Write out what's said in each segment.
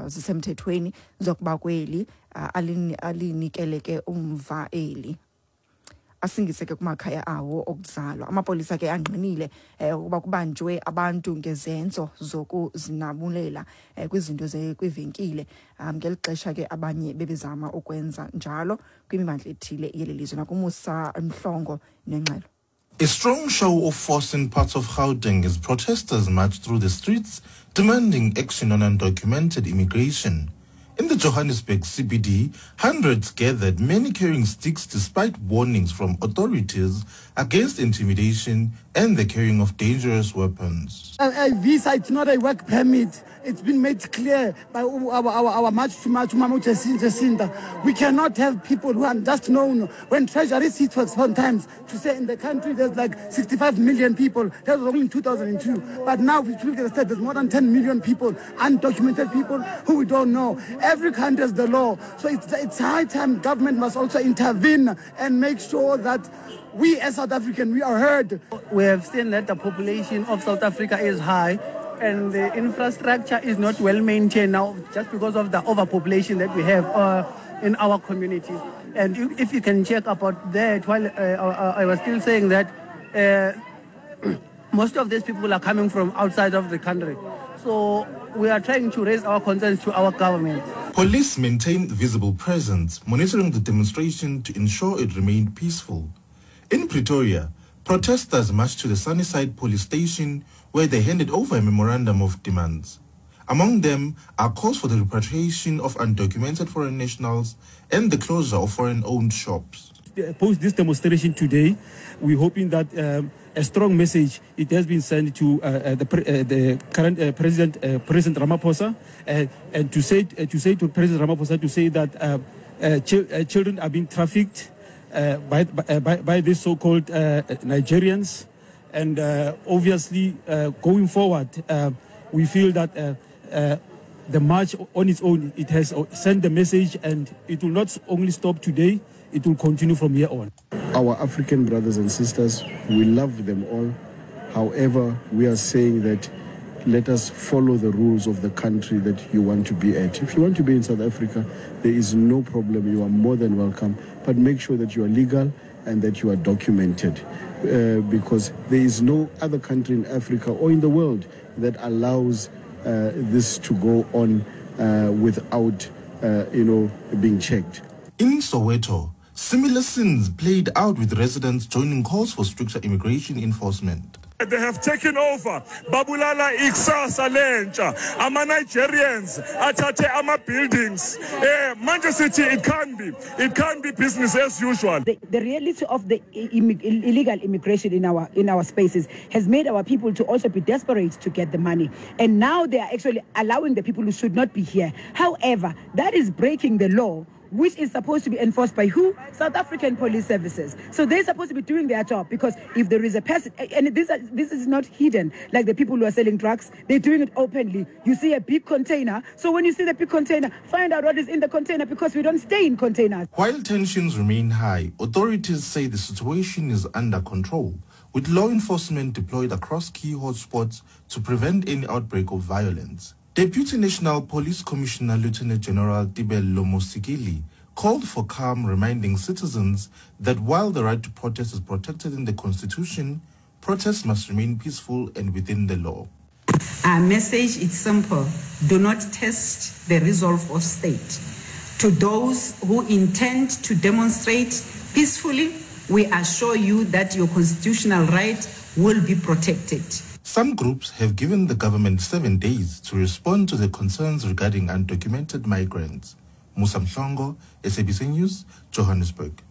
zisemthethweni zokuba kweli alinikele ke umva eli asingise ke kumakhaya awo okuzalwa. Amapolisa ke angqinile ukuba kubanjwe abantu ngezenzo zokuzinabulela kwizinto kwivenkile ngeli xesha ke abanye bebezama ukwenza njalo kwimimandla ethile yeli lizwe. NakuMusa Mhlongo nengxelo. A strong show of force in parts of Gauteng as protesters marched through the streets demanding action on undocumented immigration. In the Johannesburg CBD, hundreds gathered, many carrying sticks despite warnings from authorities against intimidation and the carrying of dangerous weapons. A visa, it's not a work permit. It's been made clear by our March to March, Mama Jacinda. We cannot have people who are just known. When Treasury sits for sometimes to say in the country there's like 65 million people. That was only in 2002. But now if you look at the state, there's more than 10 million people, undocumented people who we don't know. Every country has the law. So it's high time government must also intervene and make sure that we as South Africans, we are heard. We have seen that the population of South Africa is high and the infrastructure is not well maintained now just because of the overpopulation that we have in our communities. And if you can check about that, while I was still saying that most of these people are coming from outside of the country. So we are trying to raise our concerns to our government. Police maintained visible presence, monitoring the demonstration to ensure it remained peaceful. In Pretoria, protesters marched to the Sunnyside police station where they handed over a memorandum of demands. Among them are calls for the repatriation of undocumented foreign nationals and the closure of foreign-owned shops. Post this demonstration today, we're hoping that a strong message it has been sent to the current President, President Ramaphosa, and to say to President Ramaphosa to say that children are being trafficked by these so-called Nigerians, and obviously going forward, we feel that the march on its own, it has sent the message, and it will not only stop today, it will continue from here on. Our African brothers and sisters, we love them all. However, we are saying that let us follow the rules of the country that you want to be at. If you want to be in South Africa, there is no problem. You are more than welcome. But make sure that you are legal and that you are documented, because there is no other country in Africa or in the world that allows this to go on without, being checked. In Soweto, similar scenes played out with residents joining calls for stricter immigration enforcement. They have taken over. Babulala ikusasa lentsha. Ama Nigerians athathe ama buildings. Manchester City, it can't be. It can't be business as usual. The reality of the illegal immigration in our spaces has made our people to also be desperate to get the money. And now they are actually allowing the people who should not be here. However, that is breaking the law, which is supposed to be enforced by who? South African Police Services. So they're supposed to be doing their job, because if there is a person, and this is not hidden, like the people who are selling drugs, they're doing it openly. You see a big container. So when you see the big container, find out what is in the container, because we don't stay in containers. While tensions remain high, authorities say the situation is under control, with law enforcement deployed across key hotspots to prevent any outbreak of violence. Deputy National Police Commissioner Lieutenant General Tibello Mosikili called for calm, reminding citizens that while the right to protest is protected in the Constitution, protests must remain peaceful and within the law. Our message is simple. Do not test the resolve of state. To those who intend to demonstrate peacefully, we assure you that your constitutional right will be protected. Some groups have given the government 7 days to respond to the concerns regarding undocumented migrants. Musa Mhlongo, SABC News, Johannesburg.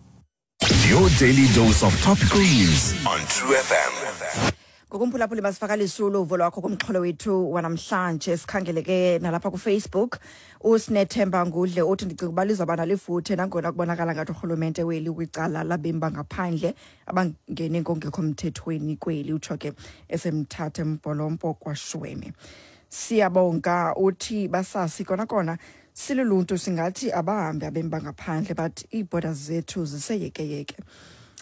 Your daily dose of topical news on True FM. Ngokumphulaphuli masivakalise uluvo lwakho kumxholo wethu wanamhlanje. Sikhangeleke nalapha kuFacebook. USinethemba Ngudle uthi ndicinga uba lizawuba nalifuthe nangona kubonakala ngathi urhulumente weli kwicala labemi bangaphandle abangene ngongekho mthethweni kweli, utsho ke esemthatha Mbholompo kwaShweme. Siyabonga uthi basasi kona kona siluluntu singathi abahambi abemi bangaphandle, but iibhoda zethu ziseyekeyeke.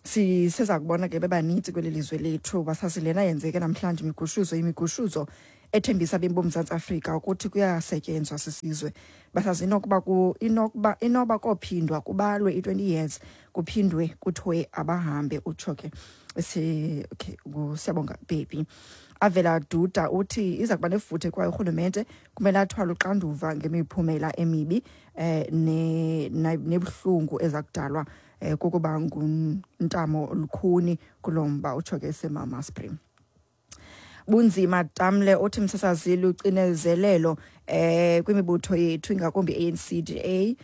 Siseza kubona ke bebanintsi kweli lizwe lethu. Basasi lena yenzeke namhlanje imigushuzo ethembisa abemi boMzantsi Afrika ukuthi kuyasetyenzwa sisizwe. Basazi inokuba ku inokuba inoba kophindwa kubalwe i-20 years kuphindwe kuthiwe abahambe, utsho ke esi. Okay, siyabonga baby. Avela Duda uthi iza kuba nefuthe kwaye urhulumente kumele athwale uxanduva ngemiphumela emibi ne nebuhlungu eza kudalwa kukuba nguntamo lukhuni kulo mba, utsho ke semama Spring. Bunzima Tamle uthi msasazi, lucinezelelo kwimibutho yethu, ingakumbi ANC, DA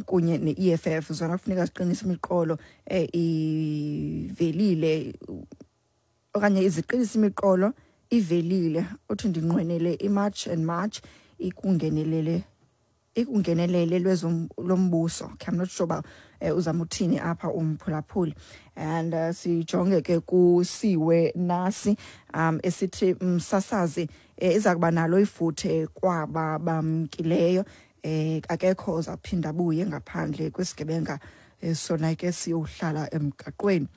kunye ne-EFF, zona kufuneka ziqinise imiqolo ivelile okanye iziqinise imiqolo ivelile. Uthi ndinqwenele iMarch and March ikungenelele lombuso. Okay, I'm not sure uba uzama uthini apha umphulaphuli. And sijonge ke kusiwe nasi esithi msasazi, iza kuba nalo ifuthe kwaba bamkileyo, akekho ozawuphinda abuye ngaphandle kwesigebenga, sona ke siyohlala emgaqweni.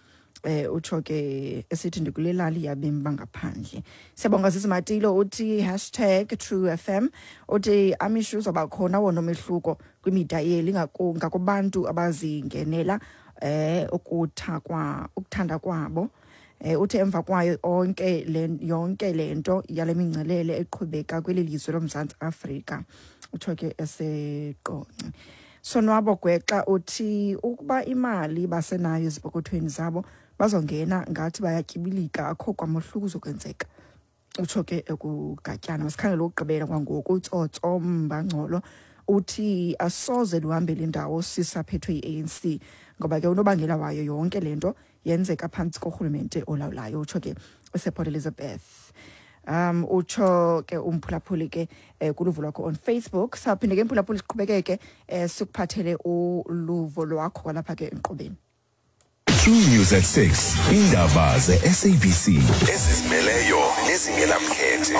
Utsho ke esithi ndikule lali yabemi bangaphandle. Siyabonga sisi Matilo. Uthi #TrueFM, uthi amisho uzawuba khona wona umehluko kwimida yeli ngakubantu abazingenela ukuthakwa ukuthanda kwabo. Uthi emva kwayo onke le yonke lento yale mingcelele eqhubeka kweli lizwe loMzantsi Afrika, utsho ke eseQonce. Sonwabo Gwexa uthi ukuba imali basenayo ezipokothweni zabo bazongena ngathi bayatyibilika, akho kwamohluko uzokwenzeka, utsho ke ekugatyana. Masikhangele ukugqibela kwangoku. Utsotso Mbangcolo uthi asoze luhambele indawo sisaphethwe yi-ANC, ngoba ke unobangela wayo yonke le nto yenzeka phantsi korhulumente olawulayo, utsho ke esePort Elizabeth. Utsho ke umphulaphuli ke kuluvo lwakho on Facebook. Sawuphinde ke mphulaphuli siqhubekeke sikuphathele uluvo lwakho kwalapha ke enkqubeni. True News at 6. Indaba ze-SABC ezizimeleyo nezingenamkhethe.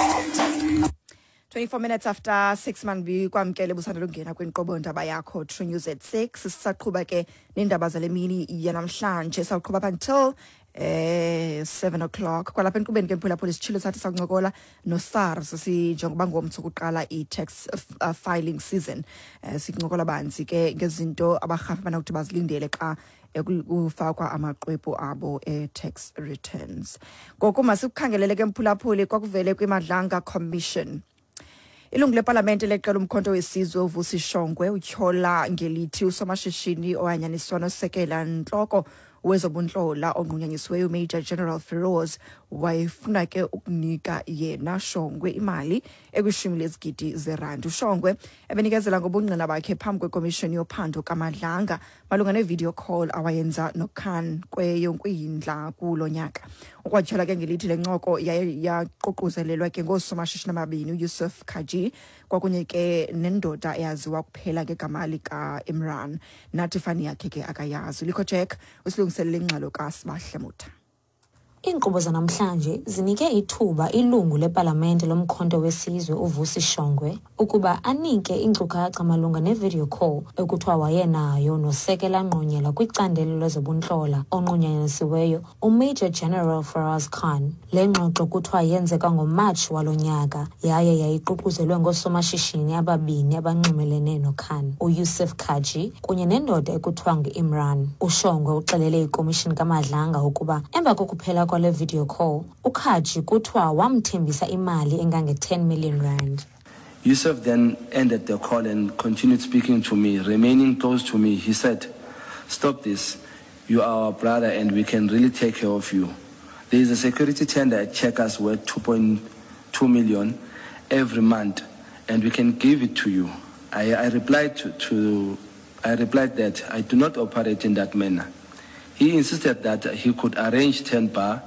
24 minutes after 6 manbi kwamkele busanda lungena kwinkqubo ndaba yakho True News at 6. Sisaqhuba ke neendaba zale mini yanamhlanje, sawuqhuba up until 7 o'clock kwalapha enkqubeni ke mphulaphula. Isitshilo sathi sakuncokola no-SARS sinjengoba ngomso kuqala i-tax filing season. Sincokola banzi ke ngezinto abarhafi banokuthi bazilindele xa kufakwa amaxwebhu abo e-tax returns. Ngoku masikukhangelele ke mphulaphuli kwakuvele kwiMadlanga Commission. Ilungu lepalamente leqela uMkhonto weSizwe uVusi Shongwe utyhola ngelithi usomashishini owanyaniswa nosekela ntloko wezobuntlola onqunyanyisiweyo Major General Feroz wayefuna ke ukunika yena Shongwe imali ekwishumi lezigidi zerandi. UShongwe ebenikezela ngobungqina bakhe phambi kwekomishoni yophando kaMadlanga malunga ne-video call awayenza noKhan kweyoNkwindla kulo nyaka. Ukwatyhola ke ngelithi le ncoko yaye yaququzelelwa ke ngoosomashishini ababini, uYusuf Kaji kwakunye ke nendoda eyaziwa kuphela ngegama lika-Imran, nathi fani yakhe ke akayazi. Ulikho Jack usilungiselele ingxelo kaSibahle Mutha. Iinkqubo zanamhlanje zinike ithuba ilungu lepalamente loMkhonto weSizwe uVusi Shongwe ukuba anike iinkcukacha malunga ne-video call ekuthiwa wayenayo nosekela ngqonyela kwicandelo lezobuntlola onqunyanyisiweyo uMajor General Faraz Khan. Le ngxoxo kuthiwa yenzeka ngoMatshi walo nyaka yaye yayiququzelwe ngoosomashishini ababini abanxumelene noKhan, uYusuf Kaji kunye nendoda ekuthiwa ngu-Imran. UShongwe uxelele ikomishini kaMadlanga ukuba emva kokuphela kwale video call, uKhaji kuthiwa wamthembisa imali engange-10 million rand. Yusuf then ended the call and continued speaking to me, remaining close to me. He said, "Stop this. You are our brother and we can really take care of you. There is a security tender at Checkers worth 2.2 million every month and we can give it to you." I replied that I do not operate in that manner. He insisted that he could arrange 10 bar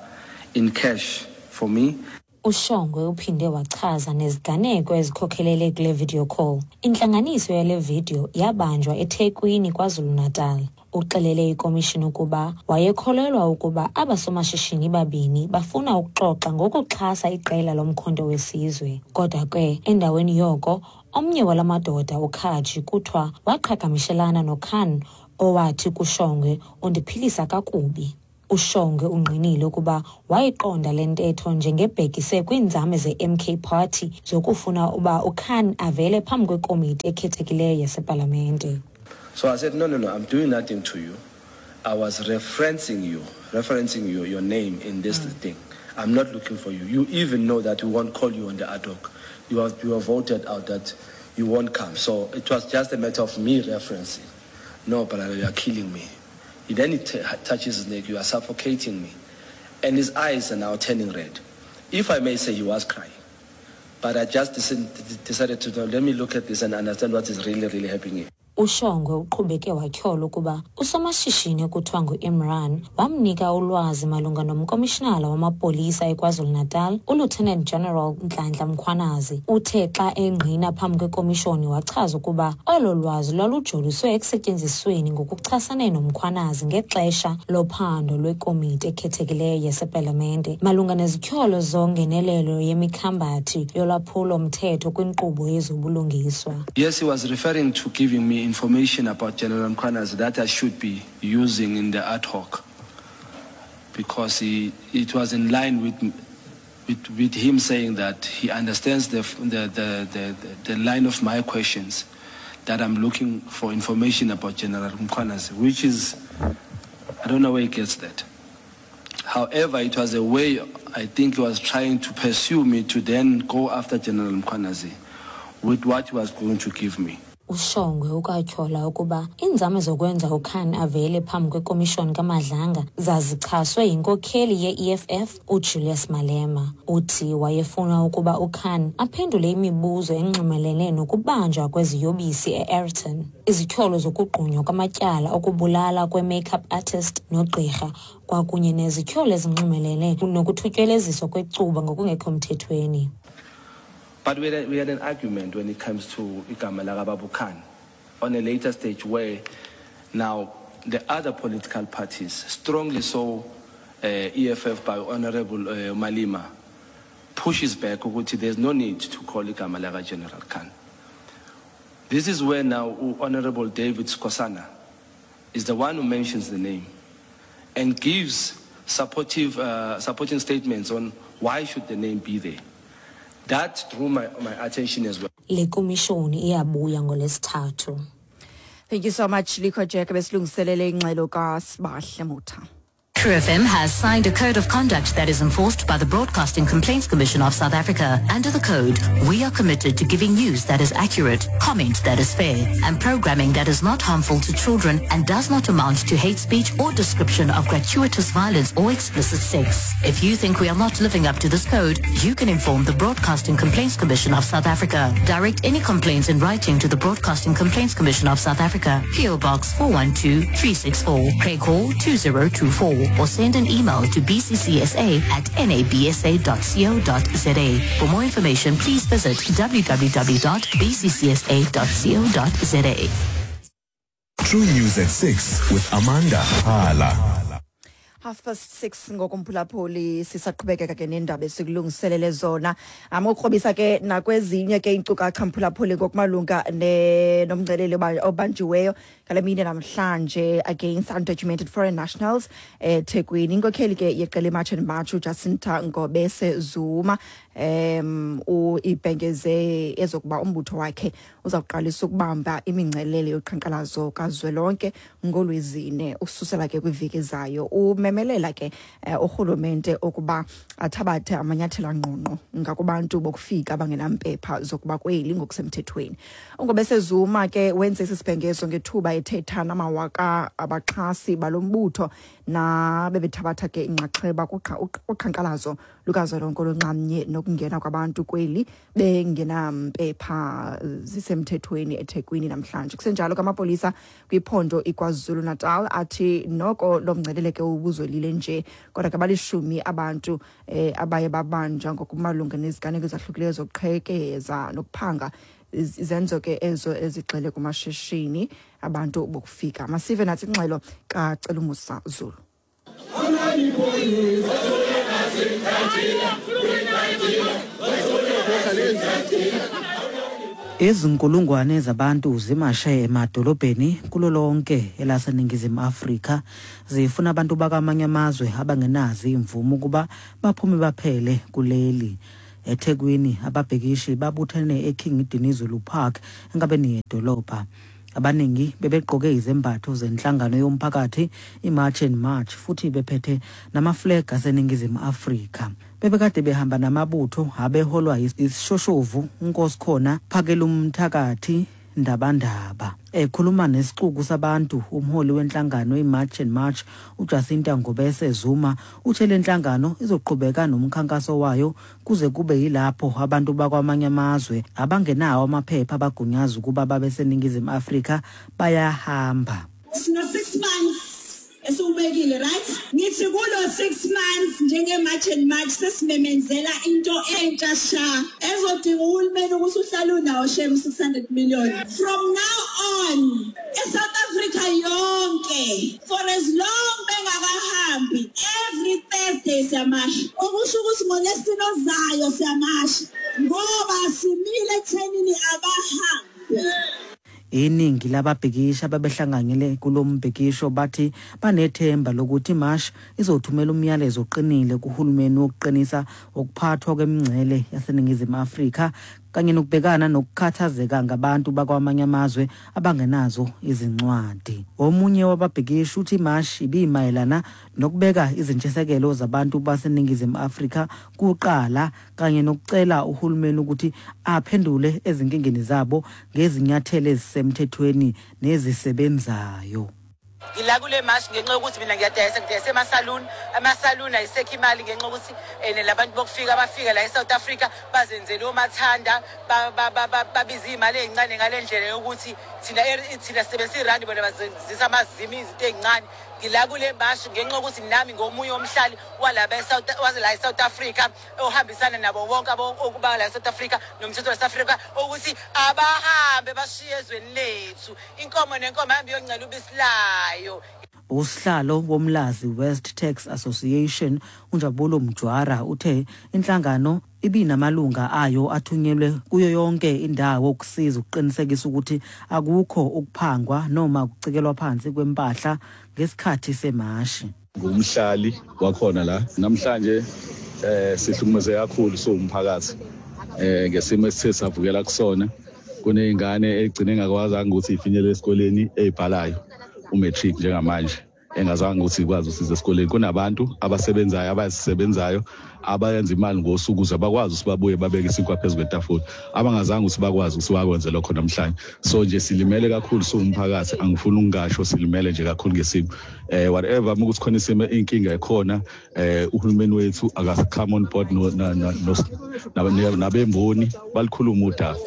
in cash for me. UShongwe uphinde wachaza neziganeko ezikhokhelele kule video call. Intlanganiso yale video yabanjwa eThekwini, KwaZulu-Natal. Uxelele ikomishini ukuba wayekholelwa ukuba abasomashishini babini bafuna ukuxoxa ngokuxhasa iqela loMkhonto weSizwe. Kodwa ke endaweni yoko, omnye wala madoda, uKhaji, kuthiwa waqhagamshelana noKhan owathi kuShongwe, "Undiphilisa kakubi." UShongwe ungqinile ukuba wayiqonda le ntetho njengebhekise kwiinzame ze-MK Party zokufuna uba uKhan avele phambi kwekomiti ekhethekileyo yasepalamente. So I said, no, no, no, I'm doing nothing to you. I was referencing you, referencing you, your name in this thing. I'm not looking for you. You even know that we won't call you on the ad hoc. You are voted out that you won't come. So it was just a matter of me referencing. No, but you are killing me. He then touches his neck, you are suffocating me. And his eyes are now turning red. If I may say, he was crying. But I just decided to, let me look at this and understand what is really, really happening. UShongwe uqhubeke watyhola ukuba usomashishini ekuthiwa ngu-Imran wamnika ulwazi malunga nomkomishinala wamapolisa eKwaZulu-Natal, uLieutenant General Nhlanhla Mkhwanazi. Uthe xa engqina phambi kwekomishoni wachaza ukuba olo lwazi lwalujoliswe ekusetyenzisweni ngokuchasene noMkhwanazi ngexesha lophando lwekomiti ekhethekileyo yasepalamente malunga nezityholo zongenelelo yemikhambathi yolwaphulo-mthetho kwinkqubo yezobulungiswa. Yes, he was referring to giving me information about General Mkhwanazi that I should be using in the ad hoc, because it was in line with him saying that he understands the line of my questions, that I'm looking for information about General Mkhwanazi, which is, I don't know where he gets that. However, it was a way, I think he was trying to pursue me to then go after General Mkhwanazi with what he was going to give me. UShongwe ukwatyhola ukuba iinzame zokwenza uKhan avele phambi kwekomishoni kaMadlanga zazichaswe yinkokheli ye-EFF uJulius Malema. Uthi wayefuna ukuba uKhan aphendule imibuzo enxumelene nokubanjwa kweziyobisi e-Ayrton, izityholo zokugqunywa kwamatyala okubulala kwe-makeup artist nogqirha, kwakunye nezityholo ezinxumelene nokuthutyeleziswa kwecuba ngokungekho mthethweni. But we had an argument when it comes to igama lakaBaba Khan on a later stage where now the other political parties, strongly so, EFF by Honorable Malema, pushes back ukuthi there's no need to call igama laka General Khan. This is where now Honorable David Skosana is the one who mentions the name and gives supporting statements on why should the name be there. That drew my attention as well. Le komishoni iyabuya ngolwesithathu. Thank you so much, Likho Jack, besilungiselele ingxelo kaSibahle Motha. True FM has signed a code of conduct that is enforced by the Broadcasting Complaints Commission of South Africa. Under the code, we are committed to giving news that is accurate, comment that is fair, and programming that is not harmful to children and does not amount to hate speech or description of gratuitous violence or explicit sex. If you think we are not living up to this code, you can inform the Broadcasting Complaints Commission of South Africa. Direct any complaints in writing to the Broadcasting Complaints Commission of South Africa, P.O. Box 412364, Craighall 2024. Or send an email to bccsa@nabsa.co.za. For more information, please visit www.bccsa.co.za. True News at 6 with Amanda Hala. 6:30 ngokumphulaphuli, sisaqhubekeka ke nendaba esikulungiselele zona. Ukrobisa ke nakwezinye ke iinkcukacha mphulaphuli ngokumalunga nomngcelele obanjiweyo ngale mini namhlanje against undocumented foreign nationals eThekwini. Inkokheli ke yeqela iMarch and March uJacinta Ngobese Zuma ibhengeze ezokuba umbutho wakhe uzawuqalisa ukubamba imingcelele yoqhankqalazo kazwelonke ngolwezine ususela ke kwiveki ezayo. Umemelela ke urhulumente ukuba athabathe amanyathelo angqongqo ngakubantu bokufika abangenampepha zokuba kweli ngokusemthethweni. UNgobese Zuma ke wenze esi sibhengezo ngethuba ethetha namawaka abaxhasi balombutho nabebethabatha ke inxaxheba kuqhankqalazo lukazwelonke olunxamnye nokungena kwabantu kweli bengenampepha zisemthethweni eThekwini namhlanje. Kusenjalo kamapolisa kwiphondo iKwaZulu Natal athi noko lo mngcelele ke ubuzolile nje, kodwa ke balishumi abantu abaye babanjwa ngokumalunga neziganeko ezahlukileyo zokuqhekeza nokuphanga, izenzo ke ezo ezigxile kumashishini abantu bokufika. Masive nathi ingxelo kaCelumusa Zulu. Izinkulungwane zabantu zimashe emadolobheni kulo lonke elaseNingizimu Afrika zifuna abantu bakamanye amazwe abangenazo imvume ukuba baphume baphele kuleli. EThekwini ababhekishi babuthene eKing Dinizulu Park enkabeni yedolobha. Abaningi bebegqoke izembatho zenhlangano yomphakathi iMarch and March futhi bephethe namaflag aseNingizimu Afrika. Bebekade behamba namabutho abeholwa isishoshovu uNkosikhona Phakelumthakathi Ndabandaba. Ekhuluma nesixuku sabantu umholi wenhlangano iMarch and March uJacinta Ngobese Zuma uthe le nhlangano izoqhubeka nomkhankaso wayo kuze kube yilapho abantu bakwamanye amazwe abangenawo amaphepha abagunyaza ukuba babe seNingizimu Afrika bayahamba. Sino 6 months esiwubekile, right? Ngithi kulo 6 months njenge-March and March sesimemenzela into entsha sha ezodinga uhulumeni ukuthi uhlale unawo shem 600 million from now on eSouth Africa yonke for as long bengakahambi. Every Thursday siyamasha, okusho ukuthi ngolesine ozayo siyamasha ngoba simile ekuthenini abahambi. Iningi lababhikisha ababehlanganyele kulo mbhikisho bathi banethemba lokuthi imashi izothumela umyalezo oqinile kuhulumeni wokuqinisa ukuphathwa kwemingcele yaseNingizimu Afrika kanye nokubhekana nokukhathazeka ngabantu bakwamanye amazwe abangenazo izincwadi. Omunye wababhikishi uthi imashi ibimayelana nokubeka izintshisekelo zabantu baseNingizimu Afrika kuqala kanye nokucela uhulumeni ukuthi aphendule ezinkingeni zabo ngezinyathelo ezisemthethweni nezisebenzayo. Ngila kule mashi ngenxa yokuthi mina ngiyadayisa, ngidayisa emasaluni. Amasaluni ayisekho imali ngenxa yokuthi labantu bokufika bafika la e-South Africa bazenzele omathanda, babiza iy'mali ey'ncane ngale ndlela yokuthi thina sisebenzisa irandi, bona bazenzisa amazimi izinto ey'ncane. Ngila kule mashi ngenxa yokuthi nami ngomunye womhlali walaba la e-South Africa ohambisana nabo bonke okuba la e-South Africa nomthetho we-South Africa ukuthi abahambe bashiye ezweni lethu, inkomo nenkomo ahambe iyoncela ubisi layo. Usihlalo woMlazi West Tax Association uNjabulo Mjwara uthe inhlangano ibinamalunga ayo athunyelwe kuyo yonke indawo ukusiza ukuqinisekisa ukuthi akukho ukuphangwa noma ukucikelwa phansi kwempahla ngesikhathi semashi. Ngumhlali wakhona la namhlanje, sihlukumeze kakhulu siwumphakathi ngesimo esithe savukela kusona. Kuney'ngane egcine engakwazanga ukuthi ifinyelele esikoleni ey'bhalayo umatric njengamanje, engazange ukuthi ikwazi usiza esikoleni. Kunabantu abasebenzayo, abazisebenzayo, abayenza imali ngosuku ukuze bakwazi ukuthi babuye babeke isinkwa phezu kwetafula, abangazange ukuthi bakwazi ukuthi bakwenze lokho namhlanje. So nje silimele kakhulu siwumphakathi, angifuni ukungasho, silimele nje kakhulu ngesimo. Whatever uma ukuthi khona isimo, inkinga ekhona, uhulumeni wethu akasi-come on board nabemboni balikhuluma udaba,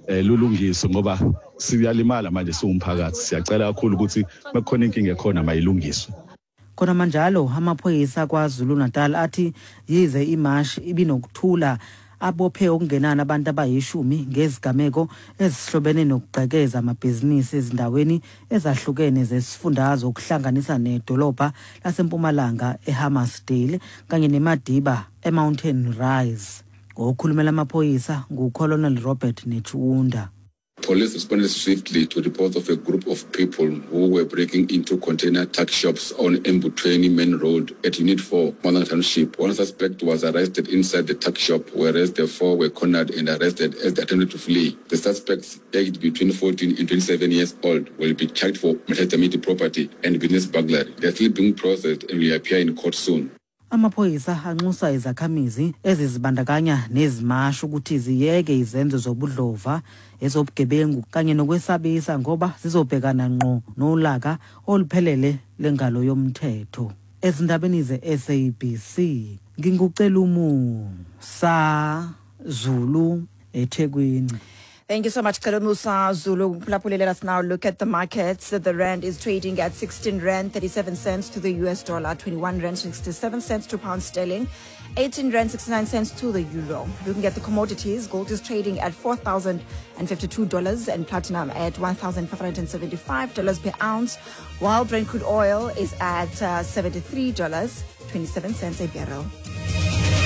lulungiswe ngoba siyalimala manje siwumphakathi. Siyacela kakhulu ukuthi makukhona inkinga ekhona mayilungiswe. Khona manjalo amaphoyisa kwaZulu Natal athi yize imashi ibinokuthula, abophe okungenani abantu abayishumi ngezigameko ezihlobene nokugqekeza amabhizinisi ezindaweni ezahlukene zesifundazwe, ukuhlanganisa nedolobha laseMpumalanga eHammarsdale kanye neMadiba eMountain Rise. Ngokhulumela amaphoyisa nguColonel Robert Netshiunda. Police responded swiftly to reports of a group of people who were breaking into container tuck shops on Embuthweni Main Road at Unit 4, Mpumalanga Township. One suspect was arrested inside the tuck shop, whereas the four were cornered and arrested as they attempted to flee. The suspects, aged between 14 and 27 years old, will be charged for maltreatment to property and business burglary. They are still being processed and will appear in court soon. Amaphoyisa anxusa izakhamizi ezizibandakanya nezimashi ukuthi ziyeke izenzo zobudlova, ezobugebengu kanye nokwesabisa ngoba zizobhekana ngqo nolaka oluphelele lengalo yomthetho. Ezindabeni ze-SABC, nginguCelumusa Zulu eThekwini. Thank you so much, Musa Zulu. Let us now look at the markets. The rand is trading at 16 rand 37 cents to the US dollar, 21 rand 67 cents to pound sterling, 18 rand 69 cents to the euro. Looking at the commodities, gold is trading at $4,052 and platinum at $1,575 per ounce, while Brent crude oil is at $73.27 a barrel.